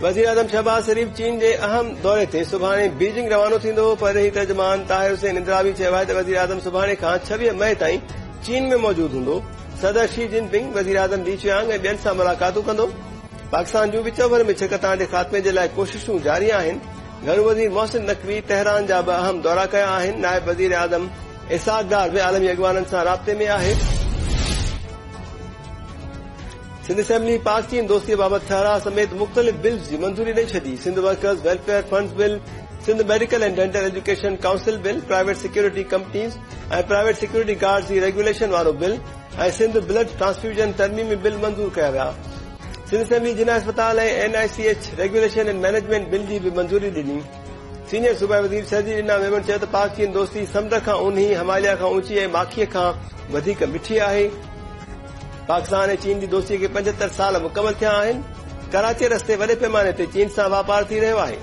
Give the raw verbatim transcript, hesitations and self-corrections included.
وزيراعظم شهباز شريف چين جي اهم دوري تي سڀاڻي بيجنگ روانو ٿيندو. پرڏيهي ترجمان طاهر حسين اندرابي چيو آهي ته وزيراعظم سڀاڻي کان ڇويهه مئي تائين چين ۾ موجود هوندو. صدر شي جن پنگ، وزيراعظم لي چيانگ ۽ ٻين سان ملاقاتون ڪندو. پاڪستان جون وچ اوڀر ۾ ڇڪتاڻ جي خاتمي جي لاء ڪوششون جاري آهن. گهرو وزير محسن نقوي تهران جا ٻه اهم دورا ڪيا آهن. نائب وزيراعظم اسحاق ڊار به عالمي اڳواڻن سان رابطي ۾ آهي. سنڌ اسيمبلي پاڪ چين دوستي بابت ٺهراء سميت مختلف بلز جي منظوري ڏئي ڇڏي. Sindh workers welfare funds bill, Sindh medical and dental education council bill, private security companies ۽ private security guards جي ريگيوليشن وارو بل ۽ سنڌ بلڊ ٽرانسفيوزن ترميمي بل منظور ڪيا ويا. سنڌ اسيمبلي جناح اسپتال ۽ N I C H regulation and management bill جي به منظوري ڏني. سينيئر صوبائي وزير شرجيل انعام ميمڻ چيو ته پاڪ چين دوستي سمنڊ کان اونهي، هماليه کان اوچي ۽ ماکيء کان وڌيڪ مٺي آهي. پاڪستان ۽ چين جي دوستي کي پنجهتر سال مڪمل ٿيا آهن. ڪراچي رستي وڏي پيماني تي چين سان واپار ٿي رهيو آهي.